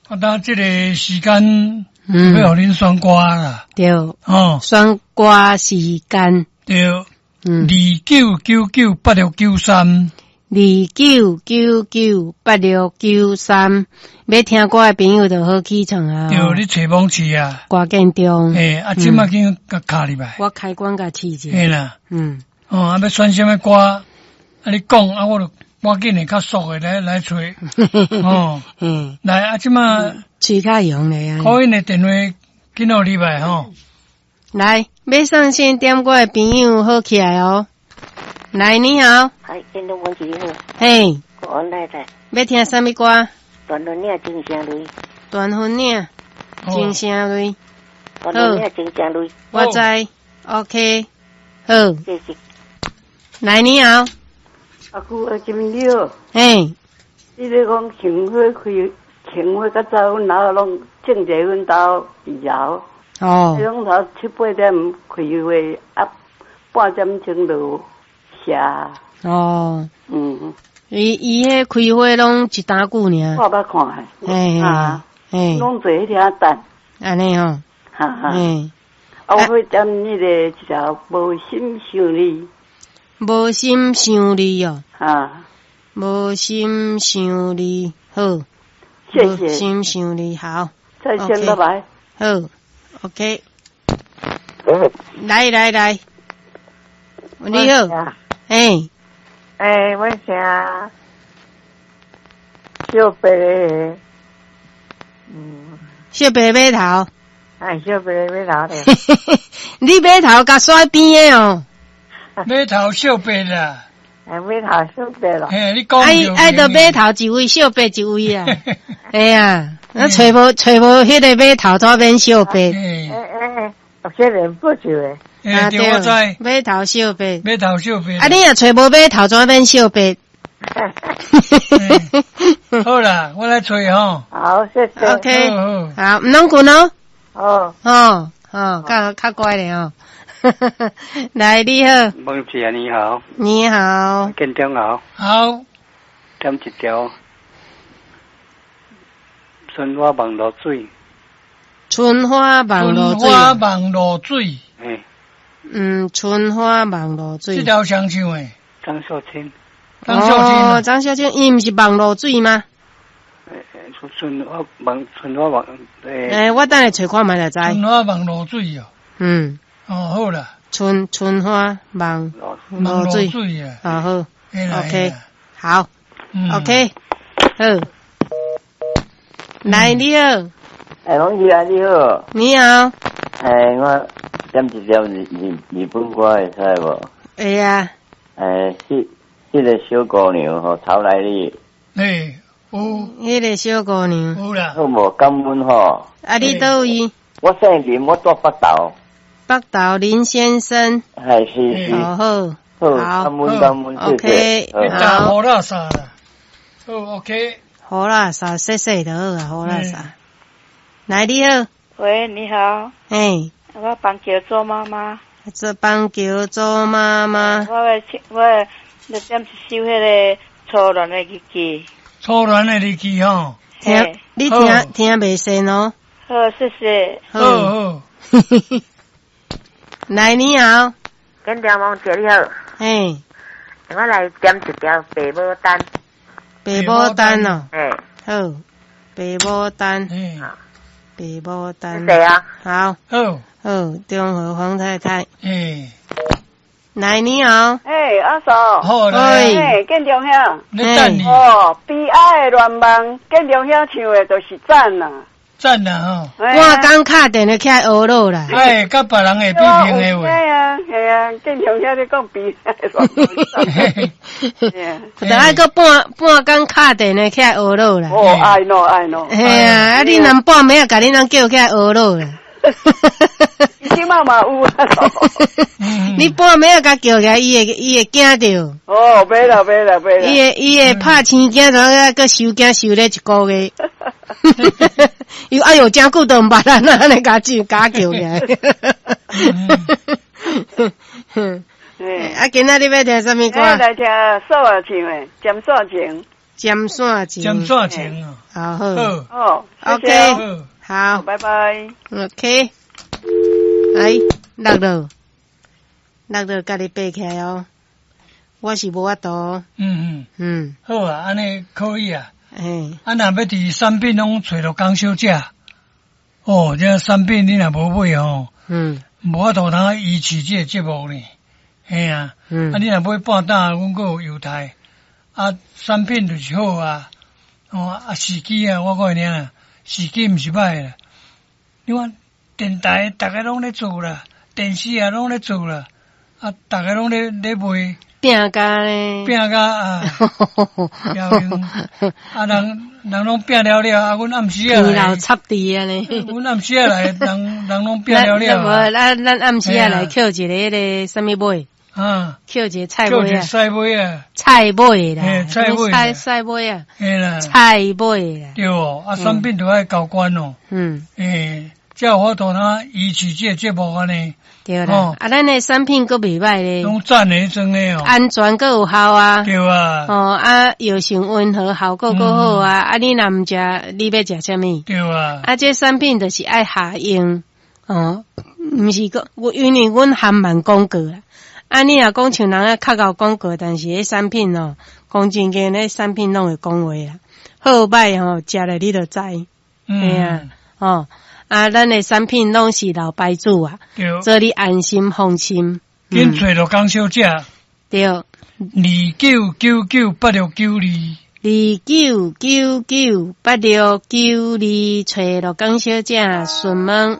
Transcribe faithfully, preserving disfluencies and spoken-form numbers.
啊，當這個時間，嗯，欲予恁選歌啦。對，哦，選歌時間。對，嗯，二九九九八六九三，二九九九八六九三，欲聽歌的朋友就好起床啊。對，你揣網試啊。歌建中。欸，啊，這馬緊共敲入來。我開關共試一下。嘿啦。嗯。哦，啊，欲選啥物歌？啊，你講啊，我就趕緊的較速的來來揣。哦。嗯。來，啊，這馬。喙較用咧啊。 call in 的電話緊予入來吼。來，欲上線點歌的朋友好起來哦。來，你好。嗨，建中文你好。嘿。國安太太。欲聽啥物歌？斷魂嶺情聲淚。斷魂嶺情聲淚。斷魂嶺情聲淚。我知，OK，好。謝謝。來，你好。阿姑，阿金你好。嘿。你咧講杏花開，杏花較早，阮老攏種佇阮兜二樓。哦。彼攏頭七八點開花，啊，半點鐘就謝。哦。嗯。伊伊彼開花攏一冬久爾。我捌看。嘿。啊。嘿。攏坐彼遐等。按呢吼。哈哈。嘿。啊，我欲點彼个一條無心想你。無心想你哦。啊。無心想你，好。謝謝。無心想你，好。再見，拜拜。好，OK。來來來，你好。嘿。欸，我姓小白，嗯。小白碼頭。哎，小白碼頭咧。你碼頭共煞邊的哦。碼頭小白啦。哎，碼頭小白啦。嘿，你講。愛愛著碼頭一位，小白一位啊。哎呀，啊，揣無揣無彼個碼頭，怎免小白？欸欸欸，這個不就的。欸，對，我知。碼頭小白。碼頭小白。啊，你若揣無碼頭，怎免小白？好啦，我來揣吼。好，謝謝。 OK，好，毋通睏哦。哦。哦哦，較較乖咧哦。來，你好。孟姐你好。你好。建中好。好。點一條春花望露水。春花望露水。春花望露水。欸。嗯，春花望露水。這條誰唱的？張秀清。張秀清。哦，張秀清，伊毋是望露水嗎？欸，春花望春花望欸。欸，我等下揣看覓就知。春花望露水哦。嗯。哦，好啦。春春花望露水。啊好。OK，好。OK，好。來，你好。欸，王姐啊，你好。你好。欸，我點一條日日日本歌會使無？會啊。欸，彼彼个小姑娘吼，曹來你。欸，有。彼个小姑娘。有啦。好無？感恩吼。啊，你佗位？我姓林，我住北投。北投林先生。係是是。好好。好，感恩感恩，謝謝。 OK，好。予垃圾啦。好，OK。予垃圾，洗洗就好啊，予垃圾。來，你好。喂，你好。嘿。我板橋做媽媽。做板橋做媽媽。我欲我欲點一首彼个初戀的日記。初戀的日記吼。聽，你聽聽袂順哦。好，謝謝。好好。來，你好。建中王姐你好。嘿。我來點一條白牡丹。白牡丹哦。嘿。好，白牡丹。白牡丹。謝謝啊。好。好。好，中和黃太太。欸。來，你好。欸，阿嫂。好來。欸，建中兄。你等你。哦，悲哀的願望，建中兄唱的就是讚啊。讚啦吼！我剛敲電話起來學落啦。哎，佮別人會比評的話。係啊，係啊，建中兄咧講悲哀的願望。就愛閣半半工敲電話起來學落啦。哦，愛喏愛喏。嘿啊，啊你若半暝仔共恁翁叫起來學落啦。這馬嘛有啊。你半暝仔共叫起來，伊會伊會驚著。哦，袂啦袂啦袂啦。伊會伊會拍生驚，怎啊閣收驚收咧一個月。伊哎喲，誠久都毋捌咱啊，按呢共叫共叫起來。啊，今仔日欲聽啥物歌？來聽素兒唱的《針線情》。尖線情，尖線情啊。好好。好。好， OK。好。拜拜。 OK。來，落落，落落，共你爬起來哦。我是無法度。嗯嗯。嗯。好啊，按呢可以啊。嘿。啊，若欲佇產品攏揣著江小姐，哦，這產品你若無買吼，嗯，無法度通維持這個節目呢。嘿啊，嗯，啊，你若買半擔，阮閣有優待。啊，產品就是好啊，哦，啊，時機啊，我講你啊，時機毋是歹啦。你看電台逐家攏咧做啦，電視也攏咧做啦，啊，逐家攏咧咧賣。拼甲咧，拼甲啊！啊，人人攏拼了了，啊，阮暗時仔來，老插地啊咧，阮暗時仔來，人人攏拼了了。無，咱咱暗時仔來抾一个彼个啥物尾？啊，抾一個菜尾啊，菜尾啊，菜尾啦，菜尾，菜菜尾啊，嘿啦，菜尾啦，對哦，啊，產品都愛交關哦，嗯，欸，才有法度通維持這個節目按呢。對啦，啊，咱的產品閣袂䆀咧，攏讚的彼種的哦，安全閣有效啊，對啊，哦啊，藥性溫和，效果閣好啊，啊，你若毋食，你欲食啥物？對啊，啊，這產品就是愛下用，哦，毋是講，因為阮含萬廣告啦。啊，你若講像人啊較𠢕廣告，但是彼產品哦，講真經，彼產品攏會講話啦，好歹吼，食了你就知，嘿啊，哦。啊，咱的產品攏是老牌子啊，做你安心放心。緊揣著江小姐。對。二九九九八六九二。二九九九八六九二，揣著江小姐詢問。